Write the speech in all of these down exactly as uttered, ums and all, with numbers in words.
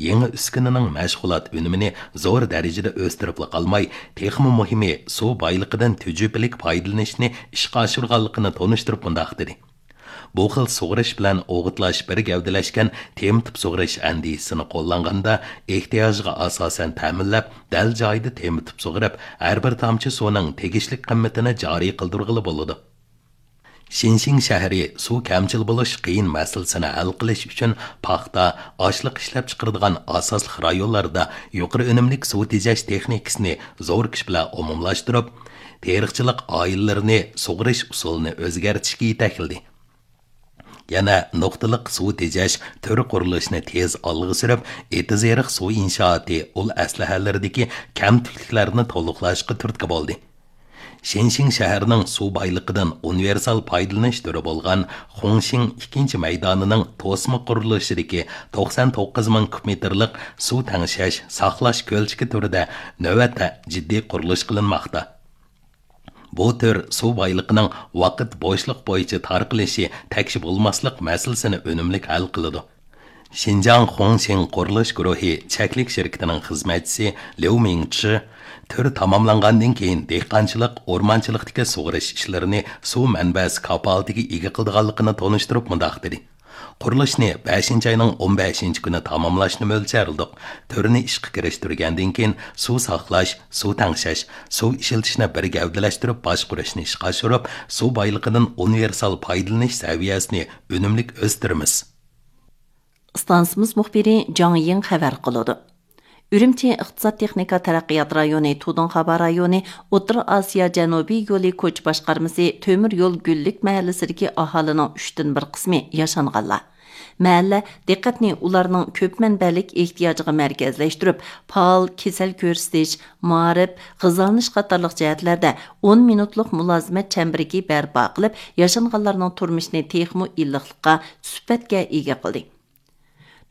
يېڭى ئۈسكۈنىنىڭ مەشغۇلات ئۈنۈمىنى زور دەرىجىدە ئۆستۈرۈپلا قالماي، تېخىمۇ مۇھىمى، سۇ بايلىقىدىن تۈجۈپىلىك پايدىلىنىشنى ئىشقا ئاشۇرغانلىقىنى تونۇشتۇرۇپ مۇنداق دېدى: بۇ خىل سۇغىرىش بىلەن ئوغۇتلاش بىر گەۋدىلەشكەن تېمىتىپ سۇغىرىش ئەندىزىسىنى قوللانغاندا، ئېھتىياجغا ئاساسەن تەمىنلەپ، دەل جايىدا تېمىتىپ سۇغىرىپ، ھەر بىر تامچە سۇنىڭ تېگىشلىك قىممىتىنى جارى قىلدۇرغىلى بولىدۇ. شىنشىڭ شەھىرى سۇ كەمچىل بولۇش قىيىن مەسىلىسىنى ھەل قىلىش ئۈچۈن پاختا، ئاشلىق ئىشلەپچىقىرىدىغان ئاساسلىق رايونلاردا يۇقىرى ئۈنۈملۈك سۇ تېجەش تېخنىكىسىنى زور كۈچ بىلەن ئومۇملاشتۇرۇپ، تېرىقچىلىق ئائىلىلىرىنى سۇغىرىش ئۇسۇلىنى ئۆزگەرتىشكە يېتەكلىدى. يەنە نۇقتىلىق سۇ تېجەش تۈر قۇرۇلۇشىنى تېز ئالغا سۈرۈپ، ئېتىز-ئېرىق سۇ ئىنشائاتى ئۇل ئەسلىھەلىرىدىكى كەمتۈكلۈكلەرنى تولۇقلاشقا تۈرتكە بولدى. شىنشىڭ شەھىرىنىڭ سۇ بايلىقىدىن ئۇنىۋېرسال پايدىلىنىش تۈرى بولغان خۇڭشىڭ ئىككىنچى مەيدانىنىڭ توسما قۇرۇلۇشىدىكى توقسان توققۇز مىڭ كۇب مېتىرلىق سۇ تەڭشەش، ساقلاش كۆلچىكى تۈرىدە نۆۋەتتە جىددىي قۇرۇلۇش قىلىنماقتا. بۇ تۈر سۇ بايلىقىنىڭ ۋاقىت بوشلۇق بويىچە تارقىلىشى تەكشى بولماسلىق مەسىلىسىنى ئۈنۈملۈك ھەل قىلىدۇ. شىنجاڭ خۇڭشىڭ قۇرۇلۇش گۇرۇھى چەكلىك شىركىتىنىڭ خىزمەتچىسى ليۇ مىڭچى تۈر تاماملانغاندىن كېيىن دېھقانچىلىق، ئورمانچىلىقتىكى سۇغىرىش ئىشلىرىنى سۇ مەنبەسى كاپالىتىگە ئىگە قىلىدىغانلىقىنى تونۇشتۇرۇپ مۇنداق دېدى: قۇرۇلۇشنى بەشىنچى ئاينىڭ ئون بەشىنچى كۈنى تاماملاشنى مۆلچەرلىدۇق. تۈرنى ئىشقا كىرىشتۈرگەندىن كېيىن، سۇ ساقلاش، سۇ تەڭشەش، سۇ ئىشلىتىشنى بىر گەۋدىلەشتۈرۈپ باشقۇرۇشنى ئىشقا ئاشۇرۇپ، سۇ بايلىقىدىن ئۇنىۋېرسال پايدىلىنىش سەۋىيەسىنى ئۈنۈملۈك ئۆستۈرىمىز. ئىستانسىمىز مۇخبىرى جاڭ يىڭ خەۋەر قىلىدۇ. ئۈرۈمچى ئىقتىساد تېخنىكا تەرەققىيات رايونى تۇدۇڭ خابا رايونى ئوتتۇرا ئاسىيا جەنۇبىي يولى كوچا باشقارمىسى تۆمۈر يول گۈللۈك مەھەللىسىدىكى ئاھالىنىڭ ئۈچتىن بىر قىسمى ياشانغانلار. مەھەللە دىققەتنى ئۇلارنىڭ كۆپ مەنبەلىك ئېھتىياجىغا مەركەزلەشتۈرۈپ، پائال كېسەل كۆرسىتىش، مائارىپ، غىزالىنىش قاتارلىق جەھەتلەردە ئون مىنۇتلۇق مۇلازىمەت چەمبىرىكى بەرپا قىلىپ، ياشانغانلارنىڭ تۇرمۇشىنى تېخىمۇ ئىللىقلىققا، سۈپەتكە ئىگە قىلدى.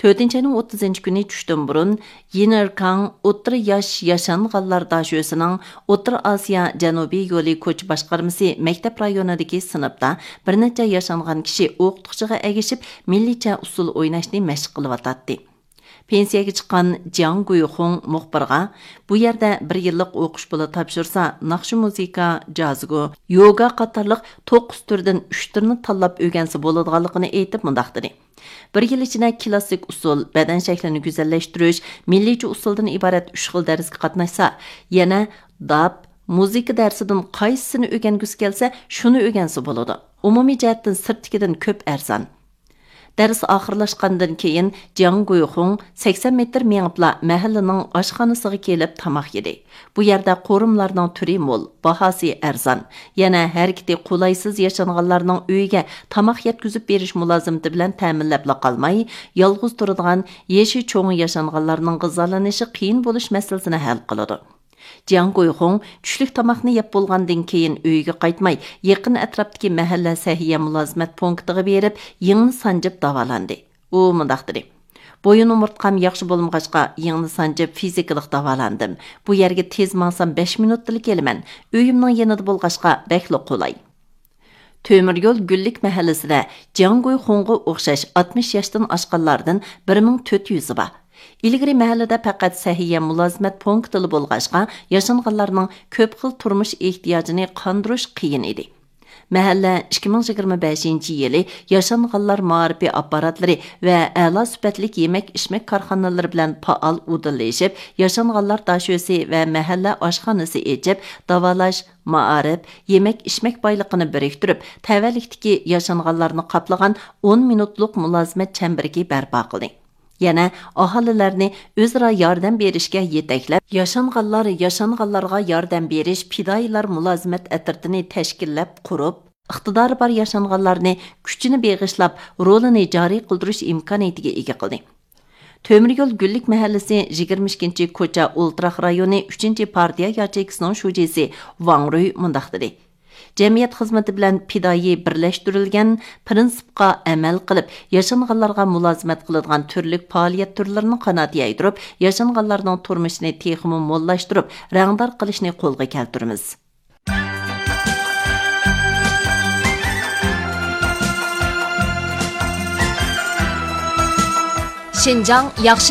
تۆتىنچى ئاينىڭ ئوتتۇزىنچى كۈنى چۈشتىن بۇرۇن، يىنئېركاڭ ئوتتۇرا ياش ياشانغانلار داشۆسىنىڭ ئوتتۇرا ئاسىيا جەنۇبىي يولى كوچا باشقارمىسى مەكتەپ رايونىدىكى سىنىپتا بىر نەچچە ياشانغان كىشى ئوقۇتقۇچىغا ئەگىشىپ، مىللىيچە ئۇسسۇل ئويناشنى مەشىق قىلىۋاتاتتى. پېنسىيەگە چىققان جياڭ گۇيخۇڭ مۇخبىرغا، بۇ يەردە بىر يىللىق ئوقۇش پۇلى تاپشۇرسا، ناخشا، مۇزىكا، جازگو، يوگا قاتارلىق توققۇز تۈردىن ئۈچ تۈرنى تاللاپ ئۆگەنسە بولىدىغانلىقىنى ئېيتىپ، مۇنداق دېدى: بىر يىل ئىچىدە كلاسسىك ئۇسسۇل، بەدەن شەكلىنى گۈزەللەشتۈرۈش، مىللىيچە ئۇسسۇلدىن ئىبارەت ئۈچ خىل دەرسكە قاتناشسا، يەنە داپ، مۇزىكا دەرسىدىن قايسىسىنى ئۆگەنگۈسى كەلسە، شۇنى ئۆگەنسە بولىدۇ. ئومۇمىي جەھەتتىن سىرتتىكىدىن كۆپ ئەرزان. دەرس ئاخىرلاشقاندىن كېيىن، جياڭ گۇيخۇڭ سەكسەن مېتىر مېڭىپلا مەھەللىنىڭ ئاشخانىسىغا كېلىپ تاماق يېدى. بۇ يەردە قورۇملارنىڭ تۈرى مول، باھاسى ئەرزان. يەنە ھەرىكىتى قولايسىز ياشانغانلارنىڭ ئۆيىگە تاماق يەتكۈزۈپ بېرىش مۇلازىمىتى بىلەن تەمىنلەپلا قالماي، يالغۇز تۇرىدىغان يېشى چوڭ ياشانغانلارنىڭ غىزالىنىشى قىيىن بولۇش مەسىلىسىنى ھەل قىلىدۇ. جياڭ گۇيخۇڭ چۈشلۈك تاماقنى يەپ بولغاندىن كېيىن ئۆيىگە قايتماي، يېقىن ئەتراپتىكى مەھەللە سەھىيە مۇلازىمەت پونكىتىغا بېرىپ، يىڭنە سانجىپ داۋالاندى. ئۇ مۇنداق دېدى: بويۇن ئومۇرتقام ياخشى بولمىغاچقا، يىڭنە سانجىپ فىزىكىلىق داۋالاندىم. بۇ يەرگە تېز ماڭسام، بەش مىنۇتتىلا كېلىمەن. ئۆيۈمنىڭ يېنىدا بولغاچقا، بەكلا قولاي. تۆمۈر يول گۈللۈك مەھەللىسىدە جياڭ گۇيخۇڭغا ئوخشاش ئاتمىش ياشتىن ئاشقانلاردىن بىر مىڭ تۆت يۈزى بار. ئىلگىرى مەھەللىدە پەقەت سەھىيە مۇلازىمەت پونكىتىلا بولغاچقا، ياشانغانلارنىڭ كۆپ خىل تۇرمۇش ئېھتىياجىنى قاندۇرۇش قىيىن ئىدى. مەھەللە ئىككى مىڭ يىگىرمە بەشىنچى يىلى ياشانغانلار مائارىپى ئاپپاراتلىرى ۋە ئەلا سۈپەتلىك يېمەك ئىچمەك كارخانىلىرى بىلەن پائال ئۇدۇللىشىپ، ياشانغانلار داشۆسى ۋە مەھەللە ئاشخانىسى ئېچىپ، داۋالاش، مائارىپ، يېمەك ئىچمەك بايلىقىنى بىرىكتۈرۈپ، تەۋەلىكتىكى ياشانغانلارنى قاپلىغان ئون مىنۇتلۇق مۇلازىمەت چەمبىرىكى بەرپا قىلدى. يەنە ئاھالىلەرنى ئۆزئارا ياردەم بېرىشكە يېتەكلەپ، ياشانغانلار ياشانغانلارغا ياردەم بېرىش پىدائىيلار مۇلازىمەت ئەترىتىنى تەشكىللەپ قۇرۇپ، ئىقتىدارى بار ياشانغانلارنى كۈچىنى بېغىشلاپ، رولىنى جارى قىلدۇرۇش ئىمكانىيىتىگە ئىگە قىلدى. تۆمۈر يول گۈللۈك مەھەللىسى يىگىرمە ئىككىنچى كوچا ئولتۇراق رايونى ئۈچىنچى پارتىيە ياچېيكىسىنىڭ شۇجىسى ۋاڭ رۇي مۇنداق دېدى: جەمئىيەت خىزمىتى بىلەن پىدائىي بىرلەشتۈرۈلگەن پىرىنسىپقا ئەمەل قىلىپ، ياشانغانلارغا مۇلازىمەت قىلىدىغان تۈرلۈك پائالىيەت تۈرلىرىنى قانات يايدۇرۇپ، ياشانغانلارنىڭ تۇرمۇشىنى تېخىمۇ موللاشتۇرۇپ، رەڭدار قىلىشنى قولغا كەلتۈرىمىز. شىنجاڭ ياخشى